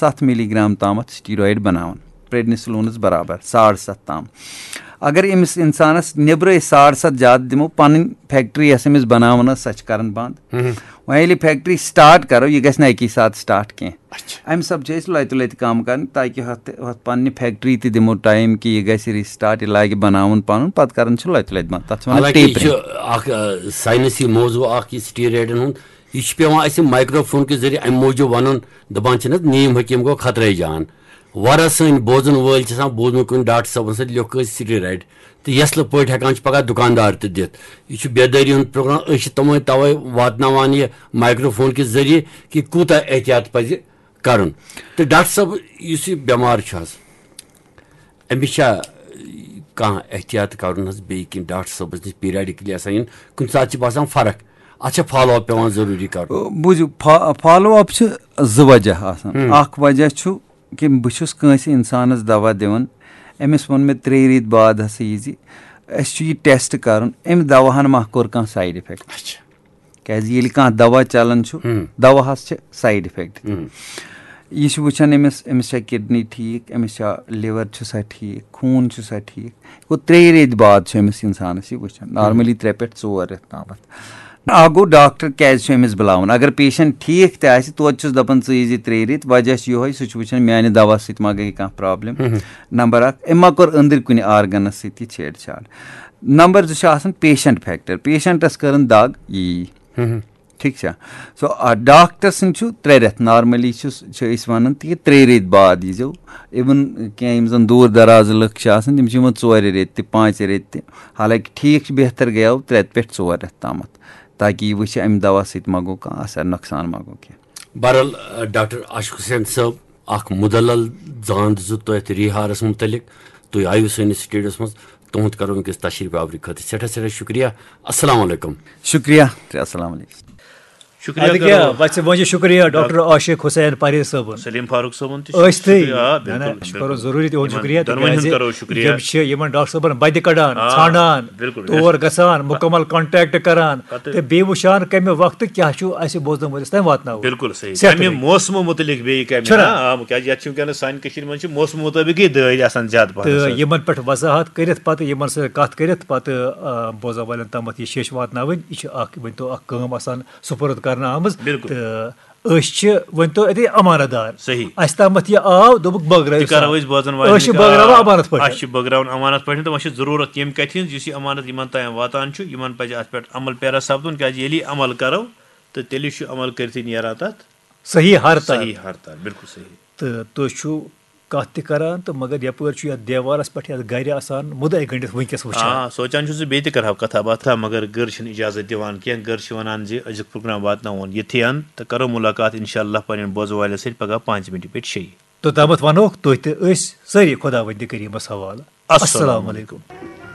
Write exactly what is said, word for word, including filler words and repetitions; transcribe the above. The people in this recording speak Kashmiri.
ستھ ملی گرام تامَتھ سٹیرایڈ بناوان، پریڈنیسلونس برابر ساڑ ستھ تام۔ اگر أمِس انسانس نیبرے ساڑ ستھ زیادٕ دِمو، پنٕنۍ فیکٹری یۄس أمِس بناوان ٲس، سۄ چھِ کران بند۔ وۄنۍ ییٚلہِ فیکٹری سٹارٹ کرو، یہِ گژھِ نہٕ اکی ساتہٕ سٹارٹ کینٛہہ۔ اچھا۔ امہِ سببہٕ چھِ أسۍ لتہِ لتہِ کم کران، تاکہِ ہۄتھ ہۄتھ پننہِ فیکٹری تہِ دِمو ٹایم کہِ یہِ گژھِ ریسٹارٹ، یہِ لاگہِ بناوُن پنُن، پتہٕ کران چھِ لتہِ لتہِ بند۔ تتھ چھِ ونان حالانکہ یہِ tapering۔ چھُ اکھ، آ، ساینسی موضوع اکھ، یہِ سٹیرایڈن ہُنٛد۔ یہِ چھُ پٮ۪وان اَسہِ مایکروفون کہِ ذٔریعہٕ اَمہِ موٗجوٗب وَنُن، دَپان چھِنہٕ حظ، نیم حکیٖم گوٚو خطرَے جان۔ واریاہ سٲنۍ بوزَن وٲلۍ چھِ آسان بوٗزمُت کُنہِ ڈاکٹر صٲبَن سۭتۍ لیوٚکھ أسۍ سٹیرایڈ، تہٕ یَسلہٕ پٲٹھۍ ہٮ۪کان چھِ پَگاہ دُکاندار تہِ دِتھ۔ یہِ چھُ بیدٲری ہُنٛد پروگرام، أسۍ چھِ تِمَے تَوَے واتناوان یہِ مایکروفون کہِ ذٔریعہٕ کہِ کوٗتاہ احتیاط پَزِ کَرُن۔ تہٕ ڈاکٹر صٲب، یُس یہِ بٮ۪مار چھُ حظ، أمِس چھا کانٛہہ احتیاط کَرُن حظ؟ بیٚیہِ کِنہٕ ڈاکٹر صٲبَس نِش پیٖریاڈِکلی آسان یُن، کُنہِ ساتہٕ چھِ باسان فرق، اَتھ چھا فالو اپ پٮ۪وان ضروٗری کَرُن؟ بوٗزِو، فا-، فالو اپ چھِ زٕ وجہ آسان۔ ہُم۔ اکھ وجہ چھُ کہِ بہٕ چھُس کٲنٛسہِ اِنسانَس دوا دِوان، أمِس ووٚن مےٚ ترٛیٚیہِ ریٚتۍ بعد ہسا یہِ زِ اَسہِ چھُ یہِ ٹیسٹ کَرُن، أمۍ دواہَن ما کوٚر کانٛہہ سایڈ افیکٹ؟ اچھا۔ کیٛازِ ییٚلہِ کانٛہہ دوا چلان چھُ، ہُم۔ دواہَس چھِ سایڈ افیکٹ تہِ۔ ہُم۔ یہِ چھُ وٕچھان أمِس، أمِس چھا کڈنی ٹھیٖک، أمِس چھا لِور چھُ سا ٹھیٖک، خوٗن چھُ سا ٹھیٖک۔ گوٚو ترٛیٚیہِ ریٚتۍ بعد چھُ أمِس اِنسانَس یہِ وٕچھان، نارمٔلی ترٛےٚ پٮ۪ٹھ ژور رٮ۪تھ تامَتھ۔ اَکھ گوٚو ڈاکٹر کیٛازِ چھُ أمِس بُلاوُن؟ اگر پیشنٹ ٹھیٖک تہِ آسہِ، توتہِ چھُس دَپان ژٕ یی زِ ترٛیٚیہِ ریٚتۍ، وجہ چھُ یِہوٚے، سُہ چھُ وٕچھان میٛانہِ دوا سۭتۍ ما گٔے کانٛہہ پرابلم۔ نمبر اکھ، أمۍ ما کوٚر أنٛدٕرۍ کُنہِ آرگنَس سۭتۍ یہِ چھیڑ چھاڑ۔ نمبر زٕ چھُ آسان پیشنٹ فیکٹر، پیشنٹَس کٔرٕن دَگ یی۔ ٹھیٖک چھا؟ سو، آ، ڈاکٹر سٕنٛدۍ چھُ ترٛےٚ رٮ۪تھ، نارمٔلی چھُس، چھِ أسۍ وَنان تہِ کہِ ترٛیٚیہِ ریٚتۍ بعد ییٖزیو۔ اِوٕن کینٛہہ یِم زَن دوٗر دراز لٕکھ چھِ آسان، تِم چھِ یِوان ژورِ ریٚتۍ تہِ، پانٛژِ ریٚتۍ تہِ۔ حالانکہ ٹھیٖک چھُ، بہتر گٔیو ترٛےٚ پٮ۪ٹھ ژور رٮ۪تھ تامَتھ، تاکہِ یہِ وٕچھِ اَمہِ دوا سۭتۍ ما گوٚو کانٛہہ اثر، نۄقصان ما گوٚو کینٛہہ۔ بہرحال، آ، ڈاکٹر عاشق حسین صٲب، اکھ مُدلل زان دِژوٕ تۄہہِ اَتھ ریہارس مُتعلق۔ تُہۍ آیِو سٲنِس سٹوڈیوس منٛز، تُہُنٛد کرو وٕنکیٚس تشریف آورٕکۍ خٲطرٕ سٮ۪ٹھاہ سٮ۪ٹھاہ شُکریہ۔ السلام علیکم۔ شُکریہ، تہٕ السلام علیکم۔ شُکریہ اَدٕ کیٛاہ، کرو۔ بس وۄنۍ چھِ شُکریہ ڈاکٹر عاشق حسین پرہیز صٲبُن۔ سلیم فاروق صٲبن تہِ چھُ أسۍ تہِ۔ شُکریہ، آ، نہ، نہ، بِلکُل، أسۍ کرو بِلکُل۔ ضروٗری تِہُنٛد یِمن شُکریہ، دۄنوٕنی ہُنٛد تِکیٛازِ کرو شُکریہ۔ یِم چھِ یِمن ڈاکٹر صٲبن بدِ کڑان، آ، ژھانڈان، بِلکُل۔ تور گژھان، مُکمل کانٹیکٹ کران پتہٕ تہٕ بیٚیہِ وٕچھان کَمہِ وقتہٕ کیٛاہ چھُ اَسہِ بوزن وٲلِس تام واتناوُن۔ بِلکُل صحیح۔ صحت کَمہِ رٔنٛگۍ۔ موسمہٕ مُتعلِق بیٚیہِ کَمہِ، چھُنہ؟ نہ؟ آ، کیٛازِ یَتھ چھِ وٕنکیٚنَس سانہِ کٔشیٖرِ منٛز چھِ موسمہٕ مُطٲبِقٕے دٲدۍ آسان زیادٕ پَہَن تہٕ حظ۔ یِمن پٮ۪ٹھ وضاحت کٔرِتھ پَتہٕ یِمن سۭتۍ کَتھ کٔرِتھ پَتہٕ، آ، بوزن والٮ۪ن تامَتھ یہِ شیٚچھ واتناوٕنۍ، یہِ چھِ اَکھ، ؤنۍتو، اَکھ کٲم آسان سُپرد کرنہٕ آمٕژ۔ بِلکُل۔ تہٕ أسۍ چھِ، ؤنۍتو، اَتے امانت دار۔ صحیح۔ اَسہِ تامَتھ یہِ آو، دوٚپُکھ بٲگرٲیِو تہِ کرو سا۔ أسۍ بوزن والٮ۪ن أسۍ چھِ تہِ، بٲگراوان آ، امانت پٲٹھۍ۔ اَسہِ چھِ بٲگراوان امانت پٲٹھۍ، تہٕ وۄنۍ چھِ ضروٗرت ییٚمہِ کَتھِ ہٕنٛز، یُس یہِ امانت یِمن تام واتان چھُ، یِمن پَزِ اَتھ پٮ۪ٹھ عمل پیرا سپدُن، کیٛازِ ییٚلہِ یہِ عمل کرو، تہٕ تیٚلہِ چھُ عمل کٔرتھٕے نیران تَتھ صحیح ہر تار۔ صحیح ہر تار، بِلکُل صحیح۔ تہٕ تُہۍ چھِو کَتھ تہِ کران، تہٕ مگر یَپٲرۍ چھُ یَتھ دیوارَس پٮ۪ٹھ، یَتھ گرِ آسان مُدعے گٔنٛڈِتھ وٕنکیٚس وٕچھان۔ آ، سونٛچان چھُس زِ بیٚیہِ تہِ کرہاو کَتھا باتھا، مگر گٔر چھِنہٕ اِجازت دِوان کینٛہہ۔ گٔر چھِ وَنان زِ أزیُک پروگرام واتناوون یِتھٕے اَن، تہٕ کرو مُلاقات اِنشاء اللہ پنٛنٮ۪ن بوزن والٮ۪ن سۭتۍ پگاہ پانٛژِ مِنٹہِ پٮ۪ٹھ شیٚیہِ۔ توٚتامَتھ وَنوکھ تُہۍ تہٕ أسۍ سٲری خۄداوندِ کریٖمَس حوالہٕ۔ السلام السلام علیکم۔ علیکم۔